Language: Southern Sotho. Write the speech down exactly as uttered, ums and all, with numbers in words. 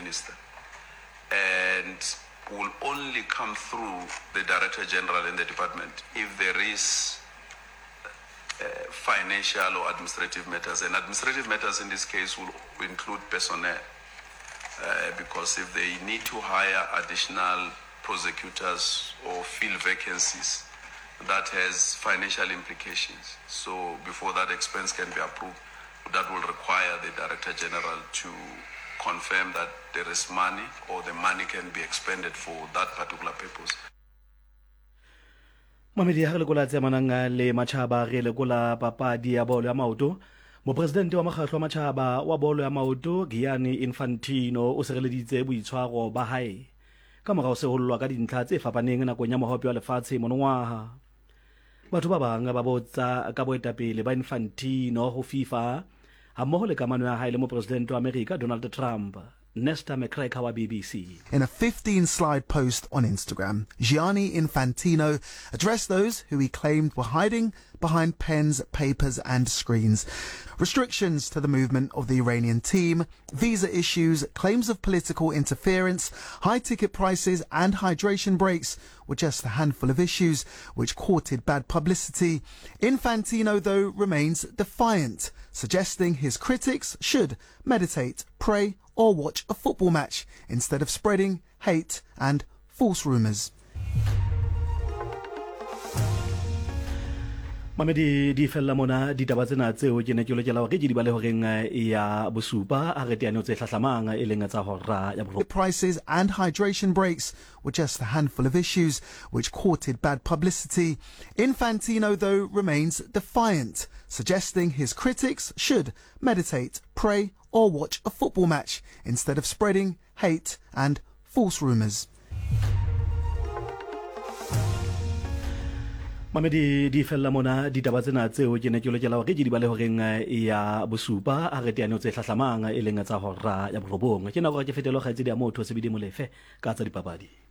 minister and will only come through the Director General in the department if there is uh, financial or administrative matters. And administrative matters in this case will include personnel, uh, because if they need to hire additional prosecutors or fill vacancies, that has financial implications. So before that expense can be approved, that will require the Director General to confirm that there is money or the money can be expended for that particular purpose. Mamedi, ha re lekola tse amanang le matjhaba, re lekola papadi ya bolo ya maoto. Mopresidente wa mokgatlo wa matjhaba wa bolo ya maoto Gianni Infantino o sireleditse boitshwaro ba hae ka mora ho sehollwa ka dintlha tse fapaneng nakong ya mohope wa lefatshe monongwaha. Batho ba bang ba botsa ka boetapele ba Infantino ho FIFA hammoho le kamano ya hae le mopresidente wa Amerika Donald Trump. Nesta McCracker wa B B C. In a fifteen-slide post on Instagram, Gianni Infantino addressed those who he claimed were hiding behind pens, papers and screens. Restrictions to the movement of the Iranian team, visa issues, claims of political interference, high ticket prices and hydration breaks were just a handful of issues which courted bad publicity. Infantino, though, remains defiant, suggesting his critics should meditate, pray or watch a football match instead of spreading hate and false rumours. Mamedi, di fella mona ditaba tsena tseo ke ne ke lokela hore ke di bale horeng ya bosupa a re teane tse hlahlamang e leng tsa hora ya borobong. Prices and hydration breaks were just a handful of issues which courted bad publicity. Infantino, though, remains defiant, suggesting his critics should meditate, pray or watch a football match instead of spreading hate and false rumours. Mamedi, di fella mona ditaba tsena tseo ke ne ke lokela hore ke di bale horeng ya bosupa a re teane tse hlahlamang e leng tsa hora ya borobong. Ke nako ke fetelo kgaitsedi ya motho Sebidi Molefe ka tsa dipapadi.